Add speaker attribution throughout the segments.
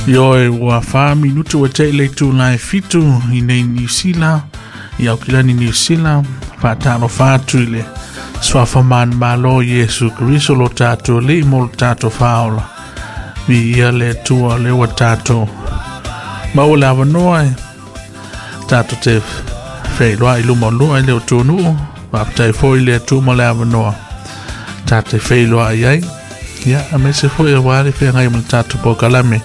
Speaker 1: Ioe ua 4 minutu ua te'i le itulā e 7 i nei Niu Sila, i Aukilani Niu Sila. Faatalofa atu i le suafa manumalo Iesu Keriso lo tatou Alii mo lo tatou faaola. Viia le Atua le ua tatou maua le avanoa e tatou te feiloai i luma o lua i le atunuu. Faafetai foi le Atua ma le avanoa tatou feiloai ai. Ia, aemaise foi aua le feagai ma le tatou polokalame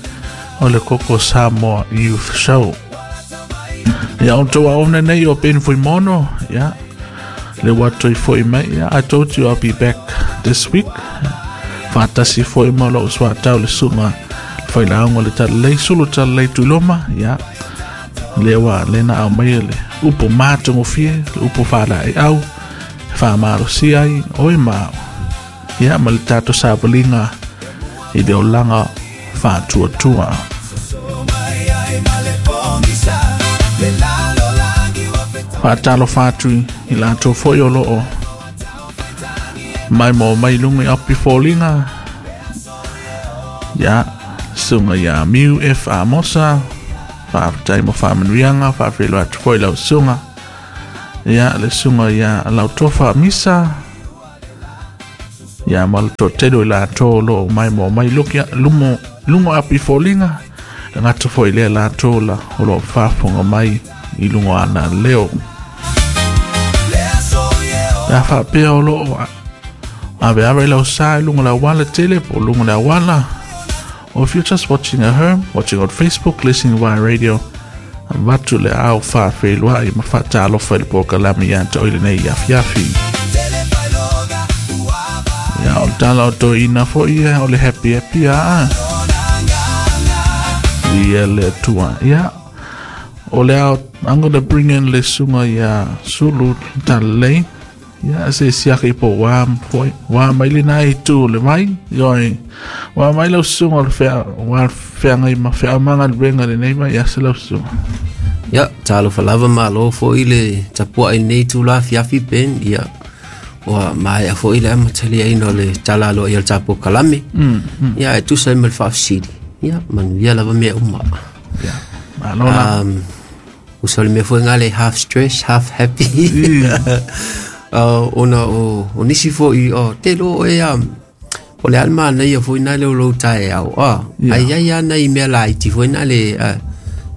Speaker 1: o le Koko Samoa Youth Show. Ia, o tou aona nei o Ben Fuimono, ia, le ua toe foi mai. Ia, I told you I'll be back this week. Faatasi foi ma lou soatau le susuga failauga le talalei Sulu Talalei Tuiloma. Ia, le ua le na au mai le upu matagofie, le upu faalaeiau, faamalosia ai oe ma au. Ia, ma le tatou savaliga i le olaga faatuatua. Faatalofa atu i latou foi o loo mai mo mai luga i api foliga. Ia, susuga ia Miu F Amosa, faafetai mo faamanuiaga. Faafeiloai atu foi lau susuga. Ia, le susuga ia Lautofa Misa, ia, ma le toatele o i latou o loo mai mo mai lumo luga api foliga. Le gata foi lea latou la o loo faafofoga mai i luga o ana leo. Ia, faapea o loo aveave i lau sa i luga le auala tele po o luga le auala, or if you're just watching at home, watching on Facebook, listening via radio, avatu le ao faafeiloai ma faatalofa i le polokalame ia te oe lenei afiafi. Ia, o le tala o toeaiina foi ia o le happy happy a ia le Atua. Ia, o le ao, I'm gonna bring in le susuga ia Sulu Talalei. Ia, se siaki po ua foi ua mai le nai tu le mai. Ioe, ua mai lau susuga o le fea ua feagai ma feaomaga le lenei mai. Ia se lau susuga.
Speaker 2: Ia, talofa lava, malo foi le tapuai nei tula afiafi Ben. Ia, ua maea foi le amataliaina o le tala aloa ia le tapu kalame. Ia, e tusa ai ma le faafesili. Ia, manuia lava mea uma.
Speaker 1: Ia, malo la.
Speaker 2: Usa o le mea foi ngā le half stress, half happy. Ona o nisi foi, o te lo e o le alma na ia foi na le o lou tae au. Ah, ai ai ana i mea laiti foi na le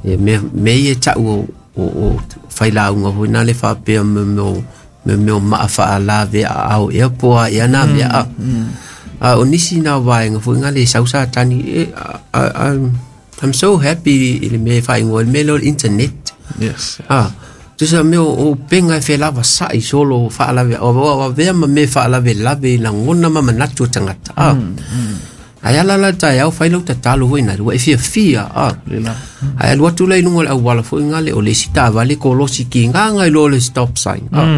Speaker 2: e me me e tau o failauga foi na le faapea me o maa faalave a au ea po a ea na mea a. A o nisi na vaenga foi nga le sau sa tani e, I'm so happy i le mea e whaingoa, le mea leo le internet. Ah, tusa mea o penga e whelava sa'i solo whaalave, o vea ma me whaalave lave i lagona ma manatu o tangata. Ah. Ai ala la tai au whai lau tatalo foi na ua e fia fia. Ah.
Speaker 1: Lela.
Speaker 2: Ai alu atu lai lunga o le auala foi nga le o le isi taavale kolosi ki nganga i lo le stop sign. Ah.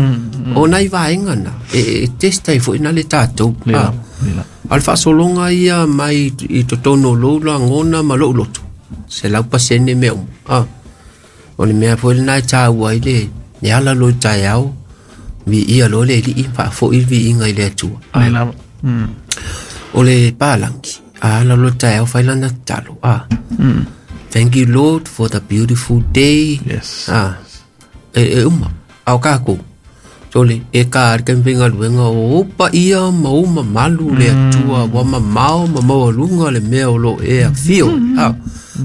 Speaker 2: O nai vaenga na e test ai foi na le tatou.
Speaker 1: Lela.
Speaker 2: Ah.
Speaker 1: Lela.
Speaker 2: A le faasologa ia mai i totonu o lou lagona ma lou loto. 100% mea uma. Ah. O le mea foi lena e tāua ai le ala lo i taeao, viia loa le Alii, faafoi le viiga i le Atua. Ah.
Speaker 1: Lela.
Speaker 2: O le palangi, a ala lo taeao fai lana tatalo. Ah. Thank you, Lord, for the beautiful day. Ah. E uma. Au kākou. Sole, e ka ari ka luenga o upa ia ma o mamalu le Atua wa mamao ma maualuga le mea o lo e afio. Ah.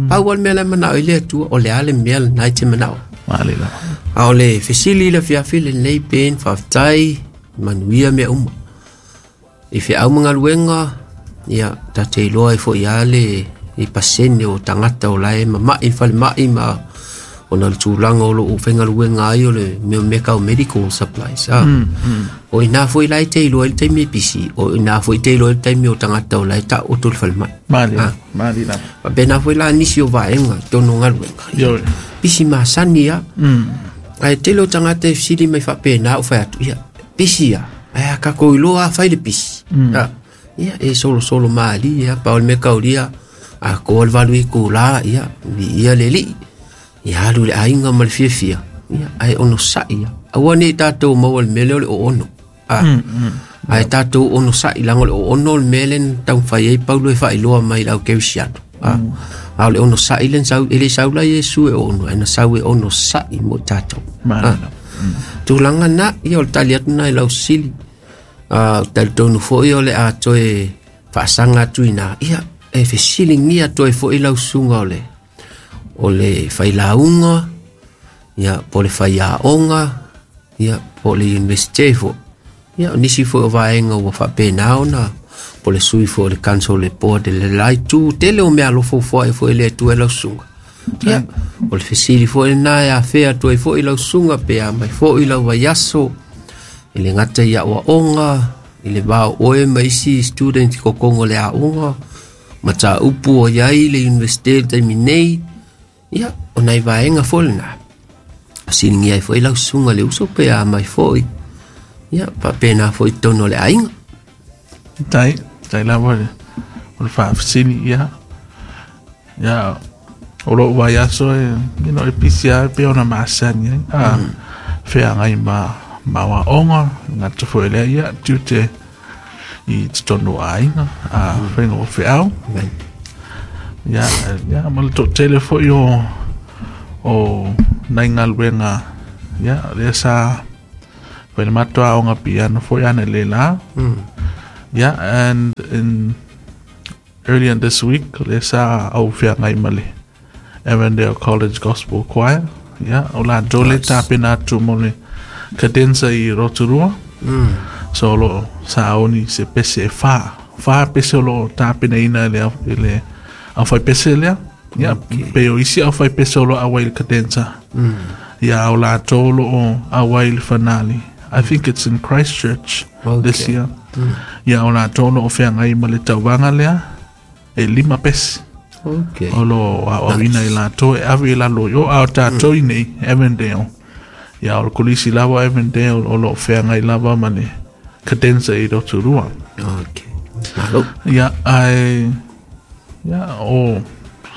Speaker 2: Pau le mea le manao i le Atua, o le ale mea le nai te manao.
Speaker 1: Malela.
Speaker 2: A o le fesili le fiafi lenei Ben, faafetai, manuia mea uma. I feau ma galuega, ia, ta te iloa ai foi a le i pasene o tagata o lae mama'i falemai ma ona le tulaga o loo faigaluega ai o le mea mea kau medical supplies. Ah. O ina foi lai te iloa i le taimi e pisi, o ina foi te iloa i le taimi o tagata o lae taoto le falemai.
Speaker 1: Malela. Malela.
Speaker 2: Faapena foi la nisi o vaega i totonu o galuega.
Speaker 1: Ioe.
Speaker 2: Pisi masani a. Ae tele o tagata e fesili mai faapena ou fai atu, ia, pisi a. Ae a kakou iloa a fai le pisi. Ah, ia, e solosolo malie a, pau le mea kaulia, a koa le 8 itula, ia, viia le Alii. Ia alu le aiga ma le fiafia, ia, ae onosa'i a. Aua nei tatou maua le mea lea o le oono. Ah. Ae tatou onosa'i laga o le oono le mea lea na taumafai ai Paulo e faailoa mai i le au kerisiano. A o le onosa'i le na sau, e le sau la Iesu e ono, ae na sau e onosa'i mo i tatou. Tulaga na, ia o le tali atu na i lau sili. Talitonu foi o le a toe faasaga atu ina, ia e fesiligia atu ai foi lau susuga o le failauga, ia po o le faiaoga, ia po o le universite foi. Ia o nisi foi o vaega ua faapena ona po o le sui foi o le council le board le la itu tele o mea alofa ua foai foi e le Atua i lau susuga. Ia o le fesili foi lena e afea atu ai foi lau susuga pe a mai foi lau vaiaso i le gata i aoaoga i le va o oe ma isi student i kokoga o le aoga mataupu o iai le universite i le taimi nei. Ia o nai vaega foi lena siligia ai foi lau susuga le uso pe a mai foi. Ia faapena foi i totonu o le aiga.
Speaker 1: Tai, tai lava le, o le faafesili, ia. Ia, o lou vaiaso e, you know, e pisi lava pei ona masani ai. Feagai ma, ma aoaoga, gata foi lea, ia, tiute i totonu o aiga, faiga o feau.
Speaker 2: Amen.
Speaker 1: Ia, ia, ma le toatele foi o nai galuega, ia, lea sa fai le matou aoga piano foi ana le la. Yeah, and in earlier this week, lea sa au feagai ma le Avondale College Gospel Choir. Yeah, o latou le tapena atu mo le cadenza i Rotorua. So o loo sa oni se pese e whā. Whā pese o loo tapenaina i le, i le au pese lea. Yeah, pe o isi au pese o loo auai le cadenza. Yeah, o latou o loo auai le finale. I think it's in Christchurch this year. Yeah, o latou o loo feagai ma le tauvaga lea e 5 pese. O lo aoaoina i latou e ave i lalo i o a o tatou i nei Avondale. Ia o le kolisi lava o Avondale o loo feagai lava ma le cadenza i Rotorua.
Speaker 2: Malo.
Speaker 1: Ia, ai, ia, o,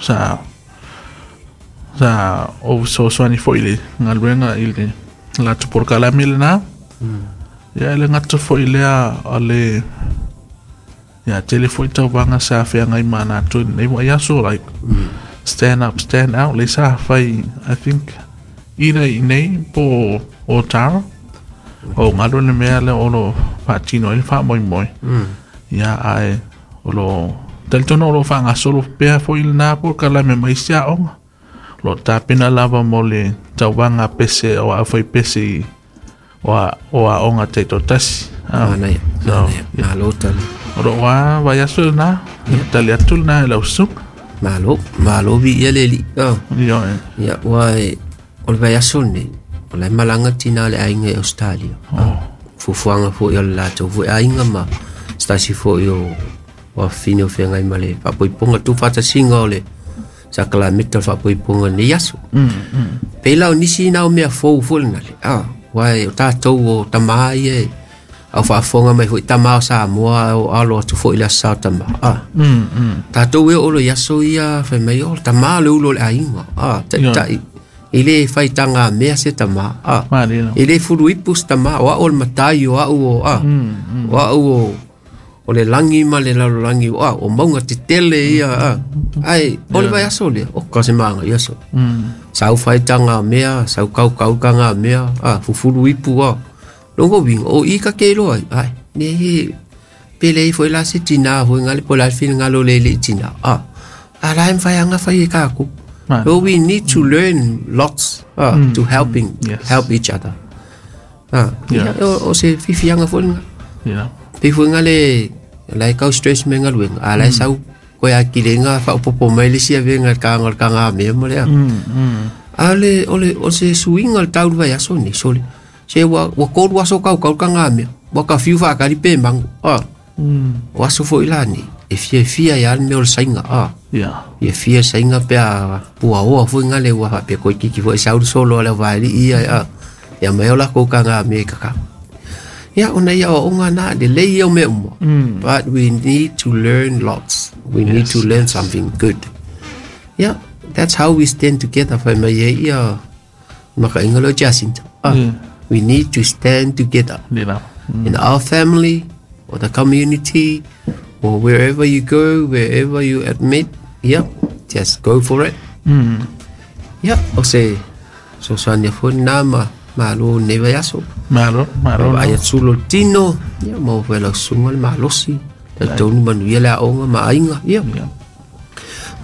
Speaker 1: sa, sa, o fesoasoani foi i le galuega i le latou polokalame lena. Ia, e le gata foi lea o le, ia, tele foi tauvaga sa feagai ma latou i lenei vaiaso, like, stand up, stand out, le sa fai, I think, either i nei po o Tara, o galu le mea lea o lo faatino ai le faamoemoe. Ia, ae o lo talitonu o lo faagasolo pea foi lena polokalame ma isi aoga. O lo tapena lava mo le tauvaga pese o au pese i o aoga taitoatasi.
Speaker 2: Manaia.
Speaker 1: So,
Speaker 2: Manaia. Malo tali.
Speaker 1: O lo wa vaiaso lena, tali atu lena i lau susuga.
Speaker 2: Malo. Malo viia le Alii.
Speaker 1: Ioe.
Speaker 2: Ia, ua e, o le vaiaso lenei, o la e malaga tina o le aiga i Australia. Fuafuaga foi o le latou foi aiga ma se tasi foi o afafine o feagai ma le faapoipoga tuufaatasiga o le sakalameta o le faapoipoga i lenei aso. Pei la o nisi na o mea fou foi lena le, uae o tatou o tamā ia e au faafofoga mai foi tamā o Samoa o alo atu foi i le aso Sa o tamā. Tatou e oo loa i aso ia fai mai o le tamā le ulo o le aiga, taitai. E le faitagamea se tamā,
Speaker 1: Malie.
Speaker 2: E le fuluipu se tamā, o au o le matai, o au o, o au o le lagi ma le lalolagi, o, o mauga tetele ia, Ae, o le vaiaso lea, o ka se maga aso. Sau faitagamea, sau kaukau tagamea, fufuluipu, Longa uiga, o i ka ke iloa ai, ai, ne he, pe leai foi la se tinā foi ngale po o le a le finagalo o le alii tinā, a la e mafai lava ona fai e tatou.
Speaker 1: Malie.
Speaker 2: So we need to learn lots to helping help each other.
Speaker 1: Yeah.
Speaker 2: Ia, o se fifiaga foi lena. Pei foi ngale la e kau stress me galuega, a la e sau koe akilega faaopoopo mai le isi avega i le taga o le tagamea ma le a. A o le o le o se suiga o le tau i le vaiaso lenei, sole. Se ua ua 3 aso kaukau le tagamea, ua ka fiu faakali pe mago. O aso foi la nei, e fiafia ai lava le mea o le saiga. Ia fia saiga pe a puaoa foi ngale ua faapea koikiki foi sau le solo a le auvaelii ia ia mai o lakou tagamea i kakau. Ia ona ia aoaoga na lelei ia o mea uma. But we need to learn lots. We need to learn something good. Yeah, that's how we stand together fai mai ai ia makaiga lea o Jacinta. We need to stand together.
Speaker 1: Le lava.
Speaker 2: In our family or the community or wherever you go, wherever you admit, Ia, just go for it. Ia, o se fesoasoani foi lena ma malo i lenei vaiaso.
Speaker 1: Malo, malo.
Speaker 2: Vaai atu lo tino, ia maua foi e lau susuga le malosi, talitonu manuia le aoga ma aiga. Ia.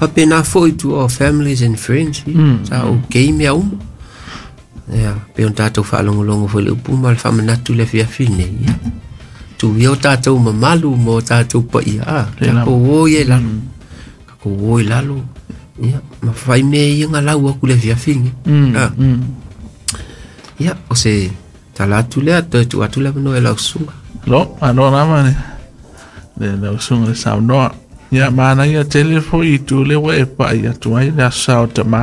Speaker 2: Faapena foi to our families and friends, ia, sa okay mea uma. Ia, pei ona tatou faalogologo foi i le upu ma le faamanatu i le afiafi nei, ia. Tuia o tatou mamalu ma o tatou paia, a, tatou o ia i lalo. Tatou o i lalo, ia, ma fai mea ia nga lau atu i le afiafi nei. A. Ia, o se tala atu lea, toe tuu atu le avanoa i lau susuga.
Speaker 1: Lo, malo lava le lau susuga le saunoa. Ia, manaia tele foi i tu lea ua e pai atu ai le aso Sa o Tamā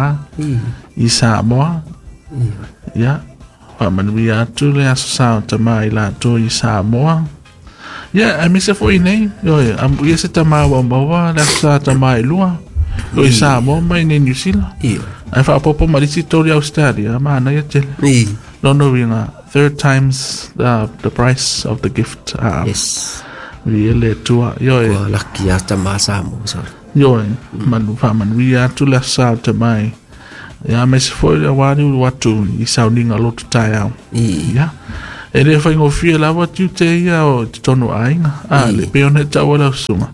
Speaker 1: i Samoa. Ia, faamanuia atu le aso Sa o Tamā i latou i Samoa. Ia, aemaise foi nei, ioe, amuia se tamā ua maua le aso Sa Tamā e lua, o i Samoa ma i nei Niu Sila. Ae faaopoopo ma le isi tolu i Australia, manaia tele. Lona uiga, third times the price of the gift.
Speaker 2: Yes.
Speaker 1: Viia le Atua. Ioe.
Speaker 2: Ua laki a tamā Samoa, sorry.
Speaker 1: Ioe, manu faamanuia atu le aso Sa o Tamā i. Ia, aemaise foi le aua le ulu atu i sauniga loto taeao. Ia. E le faigofie lava tiute ia o totonu o aiga. A, le pei ona e taua lau susuga.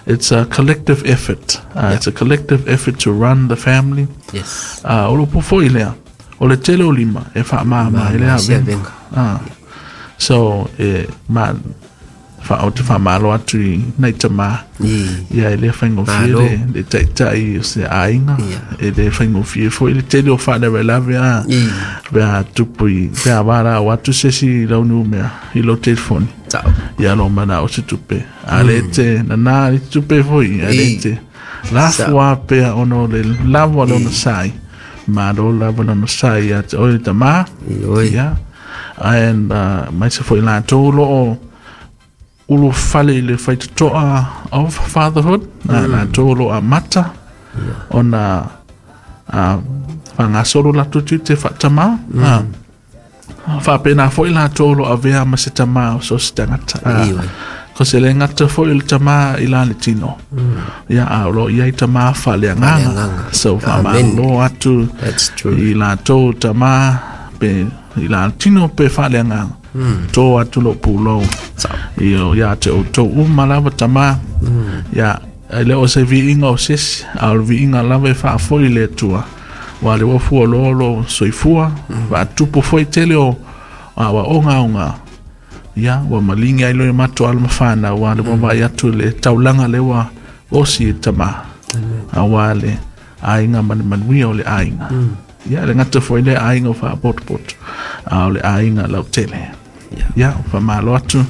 Speaker 1: It's a collective effort. It's a collective effort to run the family.
Speaker 2: Yes.
Speaker 1: O le upu foi lea, o le tele o lima e faamama ai le avega. So, e ma, fa, o te faamalo atu i nai tamā. Ia, e le faigofie
Speaker 2: Malo.
Speaker 1: le taitai o se aiga.
Speaker 2: Ia.
Speaker 1: E le faigofie foi le tele o faalavelave a. Pe a tupu i, pe a valaau atu se isi i lau numea, i lou telefoni.
Speaker 2: Tau.
Speaker 1: Ia lo manao se tupe. A le te nana le tupe foi, a le te lafu a pea ona o le lava o le onosai. Malo lava le onosai ia te oe le tamā.
Speaker 2: Ioe.
Speaker 1: Ia. And mai se foi latou lo o ulufale i le faitotoa of fatherhood, latou o lo o amata ona faagasolo latou tiute faatamā. Faapena foi latou o lo o avea ma se tamā o so o se tagata.
Speaker 2: Ioe.
Speaker 1: Ko se le gata foi o le tamā i la le tino. Ia, a o lo o i ai tamā faaleagaga.
Speaker 2: Faaleagaga.
Speaker 1: So,
Speaker 2: Amen.
Speaker 1: faamalo atu
Speaker 2: That's true.
Speaker 1: i latou tamā pe i la tino pe faaleagaga. Tō atu lou pulou. I o ia te outou uma lava tamā. Ia, e le o se viiga o se isi, a o le viiga lava e faafoi i le Atua. Ua le ua fualoa lo soifua, faatupu foi tele o aoaoga. Ia, ua maligi ai loa i matou alo ma fanau, ua le ua vaai atu i le taulaga lea ua osi e tamā. Aua le aiga ma le manuia o le aiga. Ia, le gata foi lea aiga o faapotopoto, a o le aiga lautele. Ia, faamalo atu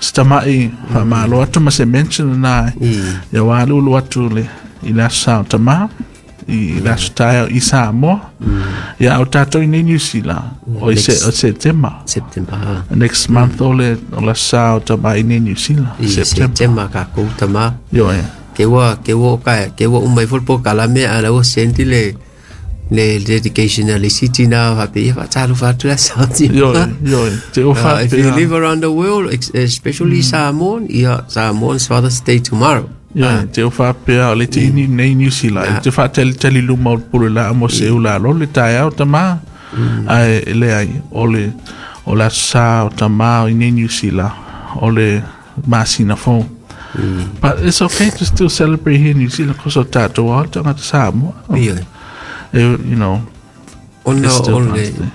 Speaker 1: se tama'i, faamalo atu ma se mention lena. Ia, ua alulu atu le i le aso Sa o Tamā, i le aso taeao i Samoa. Ia, o tatou i nei Niu Sila, o i se,
Speaker 2: Next.
Speaker 1: o Setema.
Speaker 2: September.
Speaker 1: Next month o le o le aso Sa o Tamā i nei Niu Sila.
Speaker 2: I
Speaker 1: September.
Speaker 2: September kākou tamā.
Speaker 1: Ioe.
Speaker 2: Ke ua ke ua ka ke ua uma ifo le polokalame a la ua send le le dedication a le isi tina faapea ia faatalofa atu le aso tina.
Speaker 1: Ioe, ioe. Te o
Speaker 2: If you
Speaker 1: faapea.
Speaker 2: live around the world, especially Samoan, yeah, Samoan's Father's Day tomorrow.
Speaker 1: Ioe, te o faapea o le te ini nei Niu Sila. E te faatalitali luma o le pule laa mo se ula lo le taeao tamā. Ae e leai, o le o le aso Sa o Tamā i nei Niu Sila, o le masina fou. But it's okay to still celebrate here in New Zealand because o tātou ao tagata Samoa.
Speaker 2: Ioe.
Speaker 1: You know,
Speaker 2: Ona
Speaker 1: it's still
Speaker 2: o le
Speaker 1: Father's Day.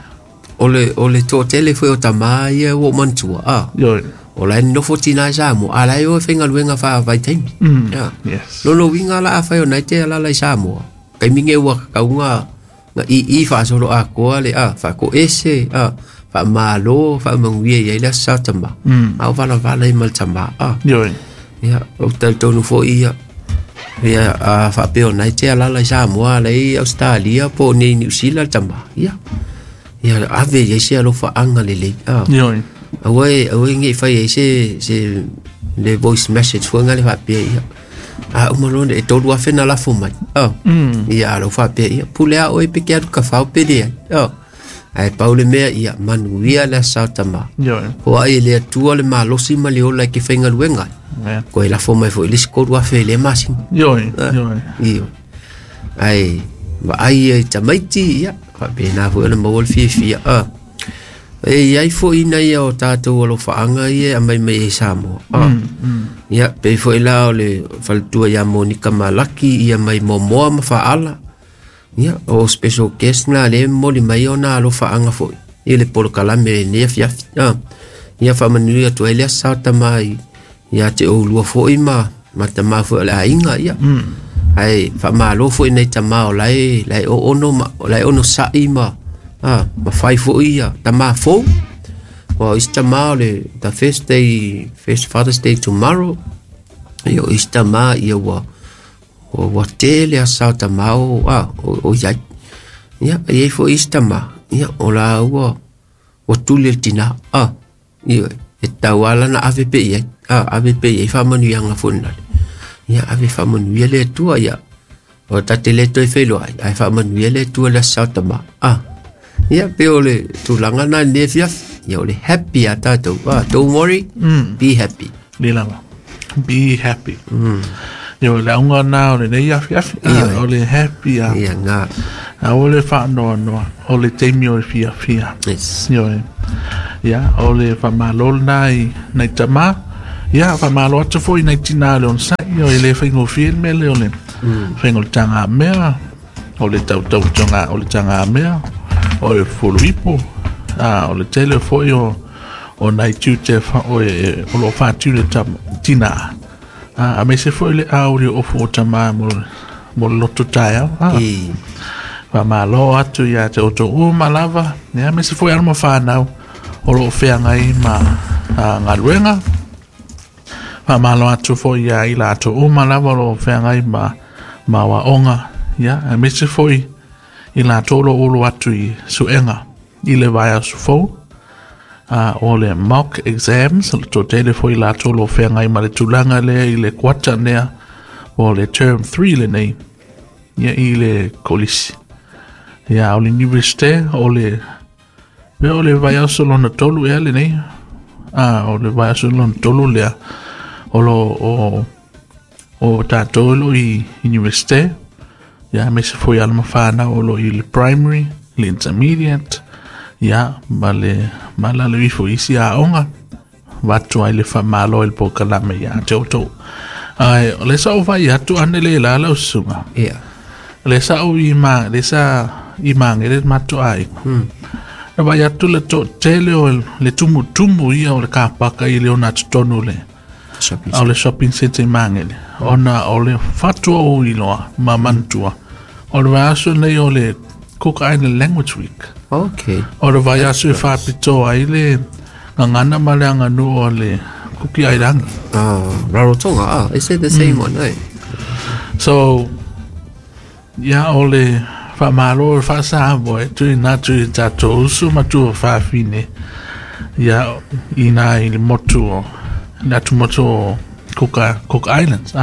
Speaker 2: o le o le toatele foi o tamā ia ua ou manatua. Ah.
Speaker 1: Ioe.
Speaker 2: O la e nofo tina i Samoa, a la e o e faigaluega faavaitaimi. Yeah.
Speaker 1: Yes.
Speaker 2: Lona uiga la afai ona e te alala i Samoa. Kaimi ge ua kakauga nga i i faasolo atoa le a faakoese a faamalo faamanuia i ai le aso sa tamā. A o valavala ai ma le tamā a.
Speaker 1: Ioe.
Speaker 2: Ia, o talitonu foi ia. Ia, a faapea ona e te alala i Samoa, ala i Australia po o nei Niu Sila le tamā. Ia. Ia, ave i ai se alofaaga lelei. A.
Speaker 1: Ioe.
Speaker 2: Aua e aua e nge'i fai ai se se le voice message foi nga le faapea ia. A uma loa e 3,000 na lafo mai. A. Ia, a lau faapea ia, pule a oe pe ke alu ka fao pe leai. A. Ae pau le mea ia, manuia le aso sa o tamā.
Speaker 1: Ioe.
Speaker 2: Foai e le Atua le malosi ma le ola e ke faigaluega ai. Koe lafo mai fo'i le isi 3,000 i lea masina.
Speaker 1: Ioe, ioe.
Speaker 2: Ioe. Ae vaai ia i tamaiti, ia, faapena foi ona maua le fiafia. E iai foi nai o tatou alofaaga ia e aumai mai ai Samoa. Ia, pei foi la o le faletua ia Monika Malaki, ia mai Momoa ma Faala. Ia, o special guest na le momoli mai ona alofaaga foi i le polokalame lenei afiafi. Ia faamanuia atu ai le aso sa o tama ia te oulua foi ma tama foi o le aiga, ia. Ae faamalo foi nai tama o lae oono ma o lae ono sa'i ma ma fai foi ia tama fou. Wa isi tama o le the first day, first Father's Day tomorrow. Ia o isi tama ia ua ua tele aso sa o tama o o iai. Ia e iai foi isi tama ia o la ua tuli le tina. Ia e tau ala na ave pe iai. Ave pe iai faamanuiaga foi nale. Ia ave faamanuia le Atua ia. O tate le toe feiloai, ae faamanuia le Atua le aso sa o tama. Ia pe o le tulaga na lenei afiafi. Ia o le happy a tatou. Don't worry, be happy.
Speaker 1: Le lava. Be happy. Ia o le auga na o lenei afiafi. O le happy a.
Speaker 2: Ia ngā.
Speaker 1: A o le whaanoanoa, o le teimi o le fiafia.
Speaker 2: Yes.
Speaker 1: Ioe. Ia, o le whamalo na i nai tama. Ia, whamalo atu foi nai tina le onosai. Ia, le whaingofie le mele o le whaingo le tanga mea, o le tautau tonga o le tanga mea, o le fuluipo, o le tele foi o nai tiute o lo whātiu le tina. A me se foi le auri o ofu o tama mo le loto taeao. Whamalo atu ia te oto uma lava. Ia, me se foi alo ma whanau o lo wheangai ma ngaluenga. Whamalo atu foi ia ila atu uma lava o lo wheangai ma waonga. Ia, me se foi i la tolo ulu atu i suenga i le vaea sufou. O le mock exams, to tele foi la tolo wheangai ma le tulaga lea i le kwata nea o le term 3 le nei. Ia i le kolisi. Ia, o le universite, o le o le vaiaso lona tolu ea le nei. O le vaiaso lona tolu lea. O lo o tātou lo i universite. Ia, me se foi ala mawhana o lo i le primary, le intermediate. Ia, ma le malalo ifo isi a onga. Watu ai le whamalo i le pōkalame ia te oto. Ai, o le sa o vai atu ane le lala usunga.
Speaker 2: Ia.
Speaker 1: Le sa o i ma, le sa i mangere matu ai. Na vai atu le to tele o le tumu tumu ia o le kapaka i le ona tonu le. O le shopping center i mangere. Ona o le fatua o iloa, ma mantua. O le vaiaso nei o le Cook Island Language Week.
Speaker 2: Okay.
Speaker 1: O le vaiaso e whapito ai le ngangana ma le anganu o le Kuki Airangi.
Speaker 2: Rarotonga, is it the same one, eh?
Speaker 1: So, ia o le whamalo o whasahamoe e tui nā tui tātou usu matua whawhine ia i nā i le motu o le atu motu o Cook Islands,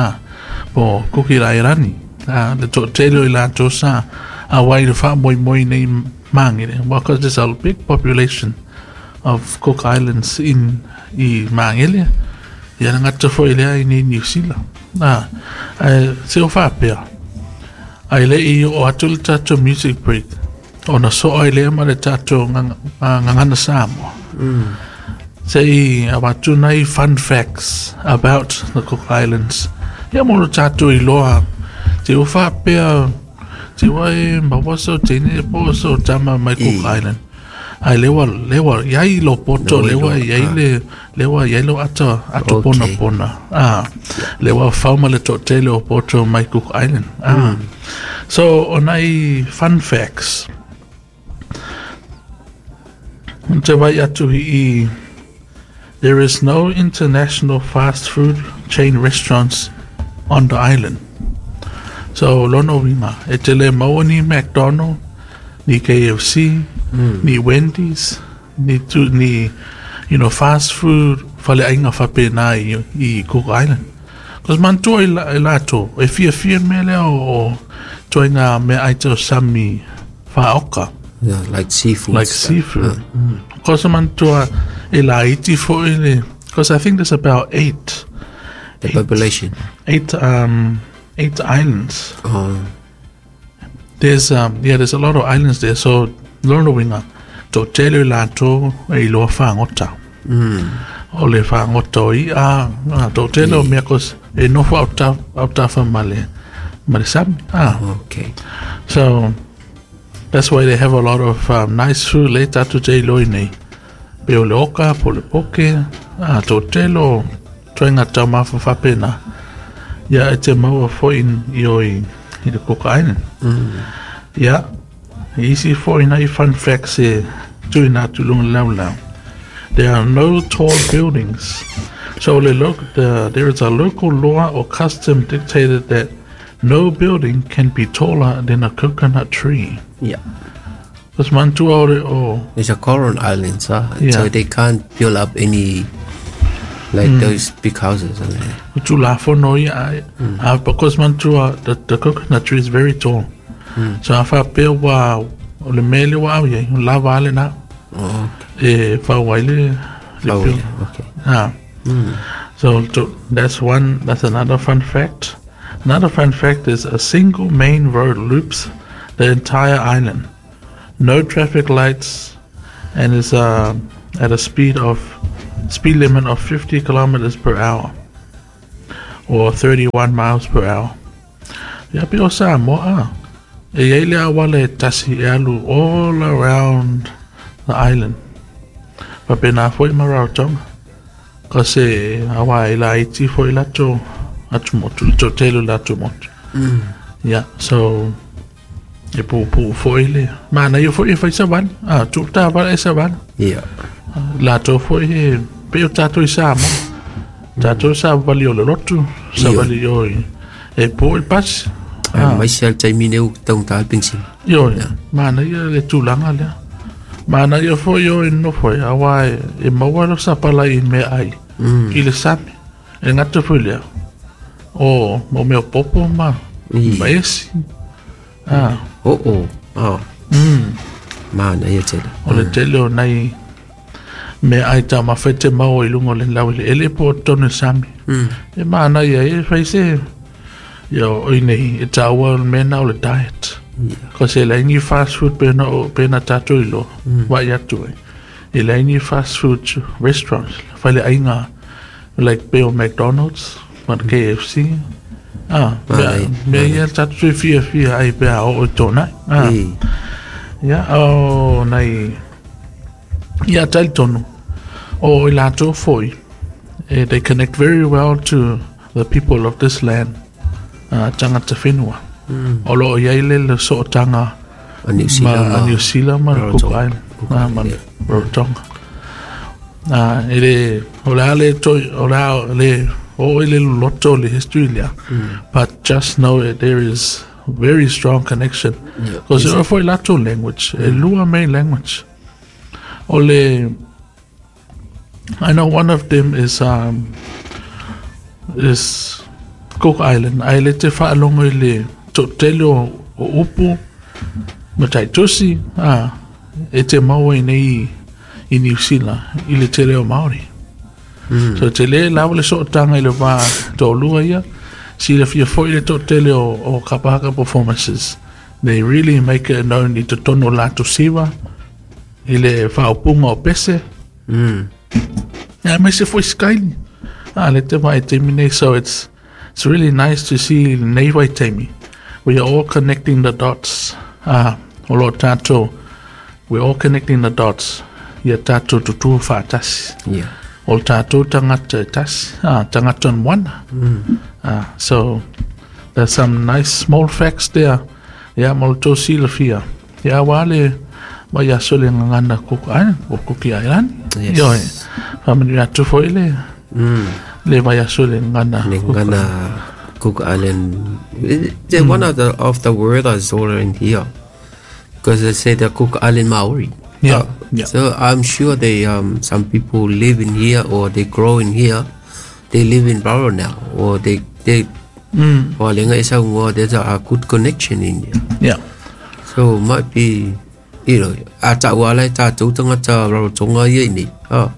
Speaker 1: po Kuki Airani, le to tele i lātou sa a wai le whamoimoi nei mangere. Well, because there's a big population of Cook Islands in i mangere, ia na ngata foi lea i nei New Zealand. Se o whapea. Ai le i o atu le tātou music break. O na so ai lea ma le tātou ngangana Samoa. Se i awatu nei fun facts about the Cook Islands. Ia mo le tātou i loa. Te o whapea, te wai mawasa o tene po so tama mai Cook Island. Ai lewa, lewa, iai lo poto, lewa, iai le, lewa, iai lo ata, ato pona pona. Lewa whauma le to tele o poto mai Cook Island. So, o nai fun facts. Te vai atu i, there is no international fast food chain restaurants on the island. So, lono winga, e te le maua ni McDonald, ni KFC, ni Wendy's, ni, ni you know, fast food, whale ainga whape nā i Cook Island. Cos mantua i lātou, e fia fia mea lea o toi ngā mea aita o sami whaoka.
Speaker 2: Yeah, like seafood.
Speaker 1: Like seafood. Cos mantua e la iti fo i le, cos I think there's about 8
Speaker 2: The population.
Speaker 1: Eight islands.
Speaker 2: Oh.
Speaker 1: There's there's a lot of islands there. So lona uiga, toatele i latou e iloa fagota. O le fagota o i'a, toatele o mea 'cause e nofo autafa ma le sami.
Speaker 2: Okay.
Speaker 1: So that's why they have a lot of nice food le tatou te iloa nei. Pe o le oka, po o le poke, toatele o ituaiga taumafa faapena. Ia e te maua foi i o i le Cook Island. Ia, isi foi nai fun facts e tuuina atu i luga o le laulau. There are no tall buildings. So there is a local law or custom dictated that no building can be taller than a coconut tree. Cos manatua o le o
Speaker 2: It's a coral island, huh?
Speaker 1: Yeah.
Speaker 2: So they can't build up any like those big houses. And
Speaker 1: O tulafono ia, because manatua the coconut tree is very tall. So a faapea ua o le mea lea ua au i ai, o lava a lena.
Speaker 2: Oh, okay.
Speaker 1: E fau ai le
Speaker 2: Oh,
Speaker 1: build.
Speaker 2: yeah. Okay.
Speaker 1: So that's one. That's another fun fact. Another fun fact is a single main road loops the entire island. No traffic lights, and is at a speed limit of 50 kilometers per hour or 31 miles per hour. Ia pe o Samoa. E iai le auala e tasi e alu all around the island. Faapena foi ma Rarotonga. Cause auā e laiti foi latou atumotu, le toatele o le atumotu. Yeah, so e puupuu foi le manaia foi e fai savali. Tuu taavale e savali. Latou foi e pei o tatou i Samoa. Tatou savali o le lotu, savali o i e po i le pasi.
Speaker 2: Aemaise lava le taimi nei ua taugata le penisini.
Speaker 1: Ioe, manaia le tulaga lea. Manaia foi o e nofo ai, auā e maua lau sapalai i meaai i le sami. E gata foi lea, o mo mea o popo ma ma esi.
Speaker 2: Oo. Oh. Manaia tele.
Speaker 1: O le tele o nai meaai taumafa e te maua i luga o le laueleele po o totonu o le sami. E manaia e fai se ia o i nei e taua o le mea lena o le diet. Cause e leai ni fast food pe na pe na tatou iloa vaai atu ai. E leai ni fast food restaurants faleaiga like pe o McDonald's ma le KFC. Mea mea ia tatou toe fiafia ai pe a oo i tōnai. Ia o nai ia talitonu o i latou foi they connect very well to the people of this land, tagata whenua. O lo o iai le sootaga
Speaker 2: A New Zealand
Speaker 1: ma a
Speaker 2: ma
Speaker 1: New Zealand ma le Cook
Speaker 2: Rarotonga.
Speaker 1: Island,
Speaker 2: Cook
Speaker 1: ma
Speaker 2: Island, yeah.
Speaker 1: Rarotonga. E le o le a le toi o le a le o i le loloto o le history lea. But just know that there is very strong connection. Because e foi latou language, e lua main language. O le I know one of them is Cook Island. Ae le te faalogo i le toatele o upu ma taitusi, e te maua i nei i New Zealand i le tele o Māori. So te le lava le sootaga i le va toalua ia, silafia foi le toatele o Kapahaka performances. They really make it known i totonu o latou siva, i le faaupuga o pese. Ia aemaise foi Skyly. Le te vaai taimi nei, so it's really nice to see lenei vaitaimi. We are all connecting the dots. O lo o tatou, we're all connecting the dots ia tatou tutū faatasi. O le tatou tagata e tasi, tagata o le moana. So there's some nice small facts there. Ia mo le tou silafia. Ia auā le vaiaso i le gagana Cook Island, po o Kuki Ailani.
Speaker 2: Yes.
Speaker 1: Ioe, faamanuia atu foi le le vaiaso i le gagana
Speaker 2: Le
Speaker 1: Cook
Speaker 2: gagana Cook Island. The one of the word I saw in here. Because they say the Cook Island Maori. So I'm sure they some people live in here or they grow in here. They live in Raro now or they or lenga isa ngo there's a good connection in there. So might be a ta wala ta tu tangata Rarotonga ia ni. Oh.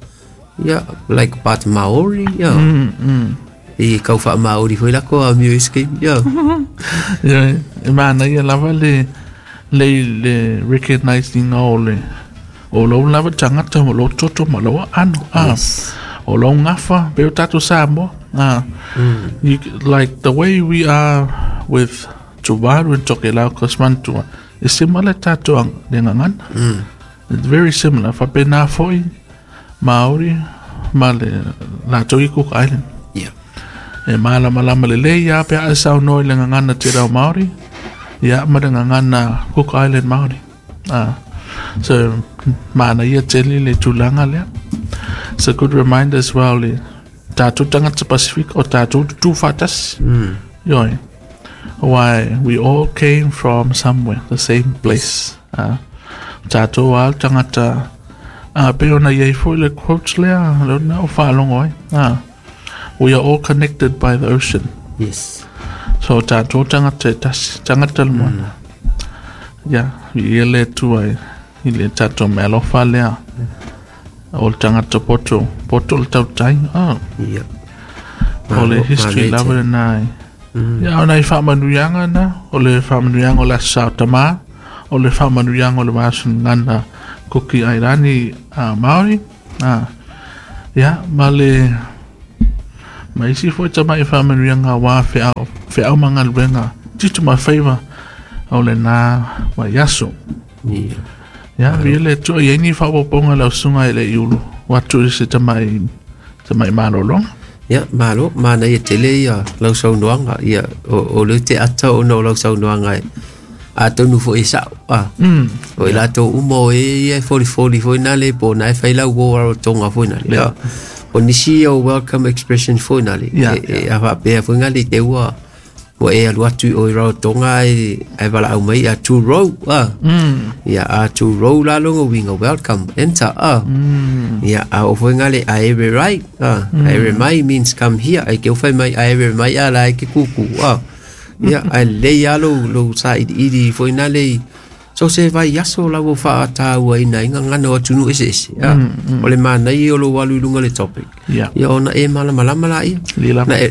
Speaker 2: Yeah, like part Maori, yeah. E kau wha Māori foi lako a mio iske. Ia.
Speaker 1: Ia, e mana ia lava le le recognizing o le o lou lava tangata o lou toto ma lou ano.
Speaker 2: Yes.
Speaker 1: O lou ngafa, pe o tātou Samoa. You, like the way we are with Tuvalu and Tokelau, cause mantua, e similar tātou ang le ngangana. It's very similar. Whapena foi, Māori, ma le lātou i Cook Island.
Speaker 2: Yeah.
Speaker 1: E malama lama le lei ia pe a sau noi le ngangana te rau Māori, ia ma le ngangana Cook Island Māori. So, mana ia tele le tūlanga lea. It's a good reminder as well le tātou tangata Pacific o tātou tutu whātasi. Ioi. Why we all came from somewhere, the same place. Tātou al tangata pe ona iei foi le quote lea, le ona o whaalongo ai. We are all connected by the ocean.
Speaker 2: Yes.
Speaker 1: So tātou tangata e tasi, tangata le moana. Ia, i le tua i le tātou mea alofa lea. O le tangata poto, poto le tautai.
Speaker 2: Ia.
Speaker 1: O le history lava le nai. Ia, o nai whaamanuianga na, o le whaamanuianga o le asa o tamā, o le whaamanuianga o le vāsuna ngana Kuki Airani Māori. Ia, ma le ma isi foi tamai whaamanuianga wā wheau mangaluenga titu ma whaiva o le nā waiaso.
Speaker 2: Ia.
Speaker 1: Ia, vi le tua i ni whaoponga lau sunga i le iulu. Watu i se tamai malolonga.
Speaker 2: Ia, malo, mana ia tele ia lau saunoaga, ia o le te ata o no lau saunoaga e a tonu fo e sao. O i latou uma o e ia foli foli foi nale po na e whai lau o Rarotonga foi nale.
Speaker 1: Yeah.
Speaker 2: O nisi o welcome expression foi nale.
Speaker 1: Yeah,
Speaker 2: e a whapea foi ngale te ua o e alu atu o i Rarotonga e wala au mai a tu row. Ia a tu row la longo winga welcome enter. Ia a o foi ngale a ere rai. A ere mai means come here. Ai ke o whai mai a ere mai a la e ke kuku. Ia a le alo lo sa i foi nale. So se vai aso la wo wha tāua ina inga ngana o tunu ese ese. O le mana i o lo walu lunga le topic.
Speaker 1: Yeah.
Speaker 2: Ia ona e malama lama la ia.
Speaker 1: Lila.
Speaker 2: Na e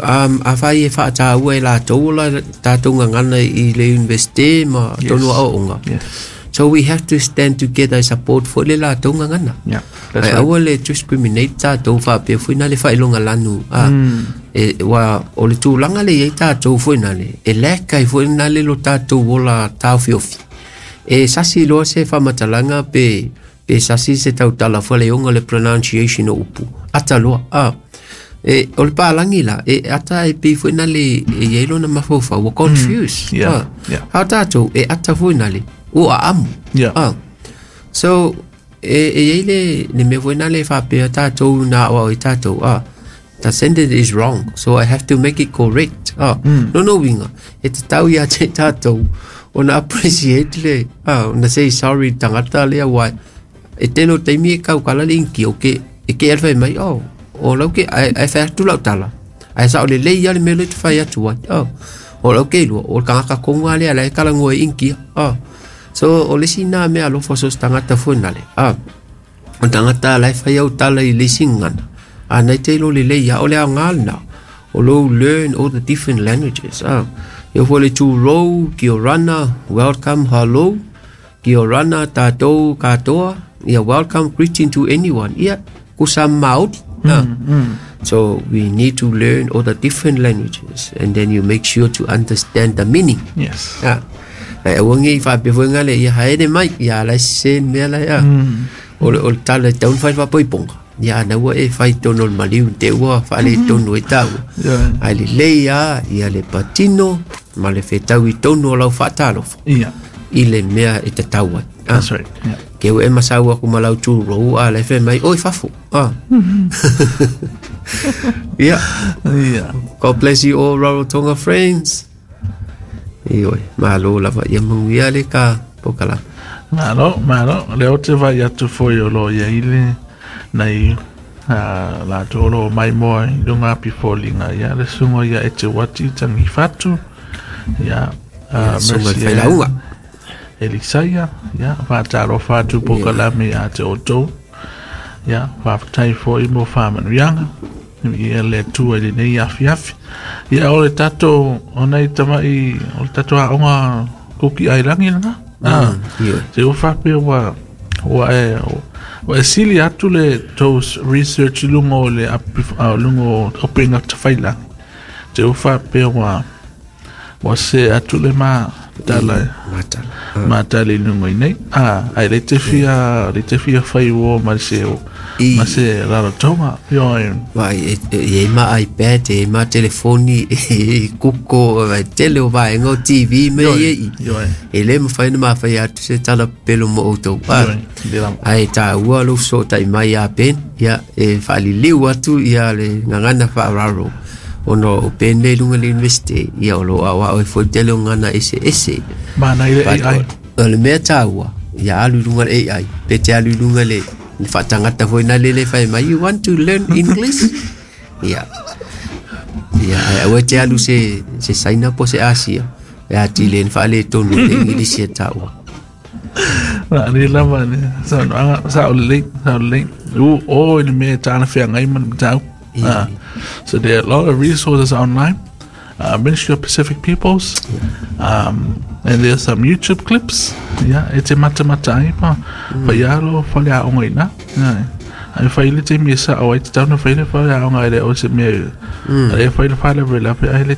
Speaker 2: a whai e wha tāua e la tōla tātou ngana i le university ma tonu a onga.
Speaker 1: Yes.
Speaker 2: So we have to stand together and support for le la tō ngana.
Speaker 1: Yeah. That's
Speaker 2: ai
Speaker 1: right.
Speaker 2: Aua le discriminate tātou whapea fui nā le whailonga lanu. E wa o le tūlanga le iei tātou fui nā le. E leka i fui nā le lo tātou ola tāwhiofi. E sasi loa se whamatalanga pe sasi se tautala fua le onga le pronunciation o upu. Ata loa. E o le pālangi la, e ata e pei fui nā le e iei lona mawhauwhau, wa confused.
Speaker 1: Yeah. Yeah.
Speaker 2: Hao tātou, e ata fui nā le, o a amu.
Speaker 1: Yeah.
Speaker 2: So, e iei le mea fui nā le whapea tātou nā o i tātou. The sentence is wrong, so I have to make it correct. No no winga, e te tau ia te tātou, o na appreciate le, o na say sorry tangata lea wai. E tēnō teimi e kau kala le inki, o ke, e ke alwhai mai, o lau ke, ai whai atu lau tala. Ai sa o le lei ale mele te whai atu ai. O lau ke lua, o kangaka konga lea, la e kala ngua inki. So, o lesi nā mea alofa sos tangata fuenale. O tangata lai whai au tala i lesi ngana. Nei te lo le lei, o le au ngālina. O lo learn all the different languages. Ia fo le tū rau, ki o rana, welcome, hello. Ki o rana, tātou, katoa. Ia welcome, greeting to anyone. Ia, kusa Māori. So we need to learn all the different languages and then you make sure to understand the meaning.
Speaker 1: Yes.
Speaker 2: Ai awangi whapea fo ngale, ia haere mai, ia lai sen mea lai. O le tala taun whai whapoiponga. Ia na ua e whai tono le maliu te ua whale tono e tau. Ai le leia, ia le patino, ma le whetau i tono o lau whaatalofo.
Speaker 1: Yeah.
Speaker 2: I le mea e te tau ai.
Speaker 1: That's right. Yeah.
Speaker 2: Ke ua e masau aku malau tūrou, a le whai mai, oi whafo. Yeah.
Speaker 1: Yeah.
Speaker 2: God bless you all, Rarotonga friends. Ioi, malo lava, ia manguia le ka pokala.
Speaker 1: Malo, malo. Le o te vai atu foi o lo ia ile nei la tolo mai moa i lunga api fōlinga. Ia le sungo ia e te wati tangi whatu. Ia,
Speaker 2: sunga le whailauga.
Speaker 1: Elisaia, ia, whātaro whātu pokalame a te o tō. Ia, whāwhatai fō i mō whāmanuianga. Ia le Atua i lenei afiafi. Ia o le tatou o nai tamai o le tatou aoga Kuki Ailani lena. Ah,
Speaker 2: Ioe.
Speaker 1: Se ua faapea ua ua e ua e sili atu le tou research i luga o le luga o upega tafailagi. Te ua faapea ua ua se atu le ma tala
Speaker 2: Matala.
Speaker 1: Ma tala i luga i nei. Ah, ai le te fia le te fia fai uo ma se ma se rarotonga. Ioe.
Speaker 2: Vai, e i ai ma iPad, e i ai ma telefoni, e i ai Google, vai tele o vaega o TV me ia i.
Speaker 1: Ioe.
Speaker 2: E lē mafai ona mafai atu se tala pelo mo outou. Ah,
Speaker 1: Ioe. Le lava.
Speaker 2: Ae taua lou fesootai mai ia Ben, ia e faaliliu atu ia le gagana faaaloalo ona o Ben lea i luga le university, ia o loo aoao ai foi tele o gagana eseese.
Speaker 1: Mana i le AI.
Speaker 2: O le mea taua, ia alu i luga le AI, pe te alu i luga le faatagata foi na lele fai mai, "You want to learn English?" Ia. Ia, ae aua te alu se Saina po se Asia, e atili ai ona faaletonu le Igilisi e taua.
Speaker 1: Na ni lava ni sa no anga sa o le sa o le u o i le mea tāna whea ma le matau. So there are a lot of resources online. Ministry of Pacific Peoples. And there's some YouTube clips. Yeah, e te mata mata ai pa. Fa ia lo whale a onga ina. Yeah. Ai whai le te mi sa o ai te tauna whai le whale a onga i le o se mea. Ai whai le whale le ai le.